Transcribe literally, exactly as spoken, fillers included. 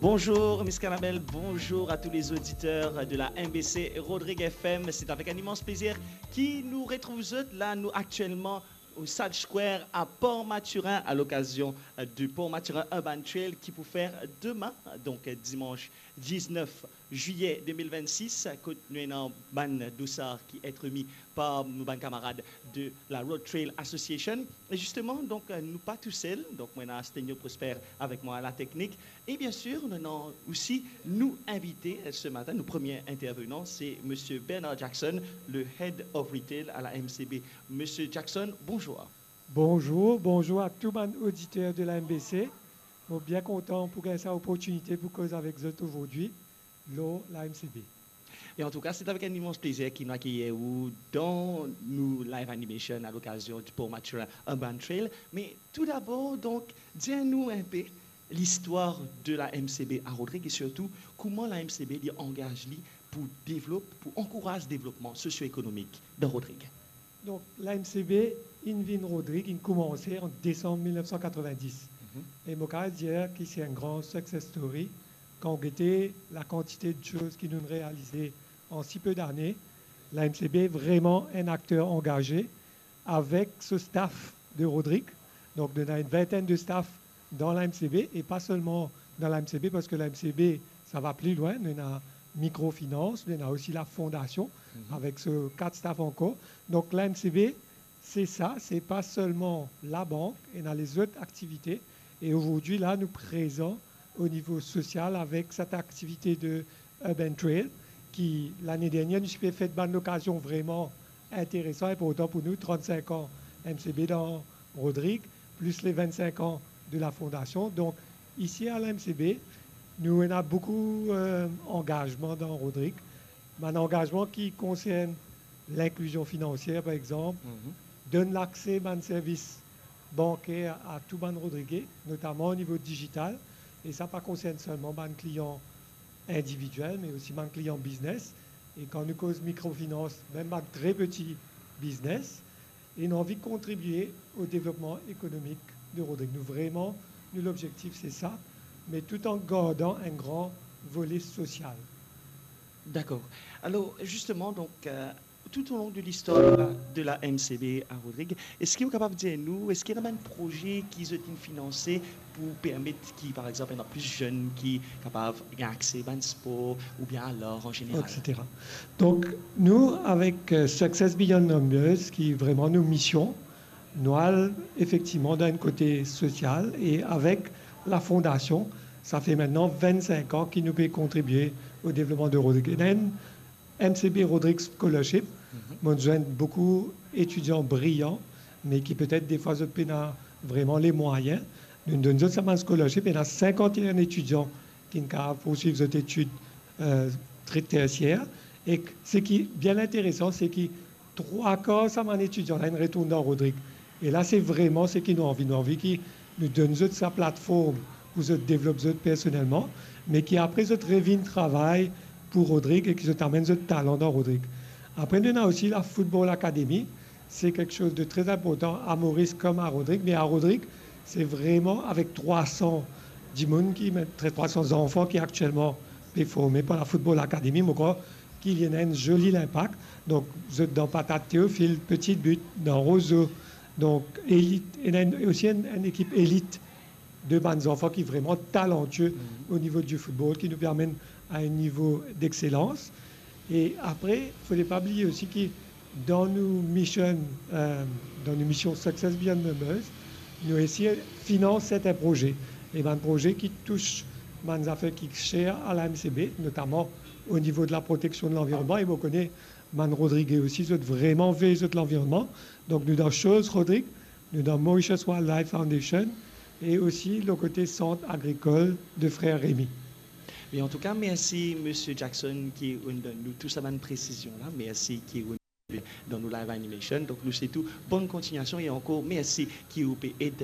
Bonjour Miss Carabelle, bonjour à tous les auditeurs de la M B C Rodrigue F M. C'est avec un immense plaisir ki nou retrouv zot la, nou aktielman au Sage Square à Port-Mathurin à l'occasion du Port-Mathurin Urban Trail ki pou fer demin, donk dimanch diznef zilye de mil vennsis, kot nou ena bann dosar ki et remi par nou bann kamarad de la Road Trail Association. E zisteman, donk, nou pa tousel. Donk, mwa, ena Stenio Prosper avek mwa, la teknik. E bien sir, nou ena osi nou invite, eh, se matin, nou premie intervenan, se Monsieur Bernard Jackson, le Head of Retail à la M C B. Monsieur Jackson, bonjour. Bonjour, bonjour à tout bann oditer de la M B C. Mo bien kontan pou gagn sa oportinite pou koz avek zot azordi lor la M C B. E antouka, se avek enn imans plezir ki nou akeyir ou dan nou live animation à l'occasion du Port-Mathurin Urban Trail. Me toudabor, donk, dir nou enpe listwar de la M C B à Rodrig e sirtou kouma la M C B li angaz li pou devlop, pou ankouraz devlopman sosio-ekonomik dan Rodrig. Donk, la M C B inn vinn Rodrig, inn koumanse an desanm mil nef san katrovin-dis. Mhm. E mo kapav dir ki se enn gran success story. Kan ou gete lakantite de soz ki nou'nn realize an si pe dane, la M C B vreman enn akter angaze avek so staff de Rodrig. Donk, nou ena enn vintenn de staff dan la M C B, e pa selman dan la M C B, parski la M C B, sa va pli lwin, nou ena mikrofinans, nou ena osi la fondasion, mhm, avek so kat staff ankor. Donk, la M C B, se sa, se pa selman labank, ena lezot aktivite. E azordi la, nou prezan o nivo sosial avek set aktivite de Urban Trail, ki lane dernier, nou ti pe fet bann lokazion vreman interesan, inportan pou nou, trannsink an M C B dan Rodrig, plis le vennsink an de la fondasion. Donk, isi a la M C B, nou ena boukou, eh, angazman dan Rodrig. Bann angazman ki konsern linklizion finansier, par exanp, mhm, donn lakse bann servis banker a tou bann Rodrige, notaman o nivo dizital, e sa pa konsern selman bann klian individiel, me osi bann klian biznes. E kan nou koz mikrofinans, mem bann tre peti biznes, e nou anvi kontribie o devlopman ekonomik de Rodrig. Nou vreman, nou lobzektif se sa, me tout an gardan enn gran vole sosial. Dakor. Alor, zisteman, donk, eh, tout au long de l'histoire de la, de la M C B à Rodrig, eski ou kapav dir nou, eski ena bann proze ki zot inn finanse pou permet ki, par exanp, ena plis zenn ki kapav gagn akse bann spor oubien a lar an zeneral? Et cetera. Donk, nou, avek, eh, Success Beyond Numbers, ki vreman nou mision, nou al efektivman dan enn kote sosial e avek la fondasion, sa fer aster vennsink an ki nou pe kontribie o devlopman de Rodrig. Ena enn M C B Rodrig Scholarship. Mhm. Mo zwenn boukou etidian briyan, me ki petet defwa zot pena vreman lemwayin. Nou donn zot sa bann scholarship, ena sinkant-e-enn etidian ki'nn kapav pourswiv zot etid, eh, tre-, tersier. E seki bien interesan, seki trwa kar sa bann etidian la inn retourn dan Rodrig. E la, se vreman seki nou anvi. Nou anvi ki nou donn zot sa platform pou zot devlop zot personelman, me ki apre zot revinn travay pou Rodrig e ki zot amenn zot talan dan Rodrig. Apre, nou ena osi la Football Academy. Se kiksoz de tre inportan a Moris kom a Rodrig, me a Rodrig, se vreman avek trwa san dimoun ki, me, tre-, trwa san zanfan ki aktielman pe forme par la Football Academy. Mo krwar ki li ena enn zoli linpak. Donk, zot dan Patate Théophile, Petit But, dan Roseau. Donk, elit, ena enn, osi enn, enn ekip elit de bann zanfan ki vreman talantie, mhm, o nivo di football, ki nou pe amenn a enn nivo dexselans. E apre, fode pa bliye osi ki dan nou mission, eh, dan nou mision Success Beyond Numbers, nou esi finans sertin proze. E bann proze ki tous bann zafer ki ser a la M C B, notaman o nivo de la proteksion de lanvironnman, e mo kone bann Rodrige osi, zot vreman vey zot lanvironnman. Donk, nou dan Chose Rodrig, nou dan Mauritius Wildlife Foundation, e osi lor kote Sant Agrikol de Frer Remy. E antouka, mersi, Misie Jackson, ki ou'nn donn nou tou sa bann presizion la. Mersi ki ou'nn dan nou live animation. Donk, nou swet ou bonn kontignasion e ankor mersi ki ou pe ed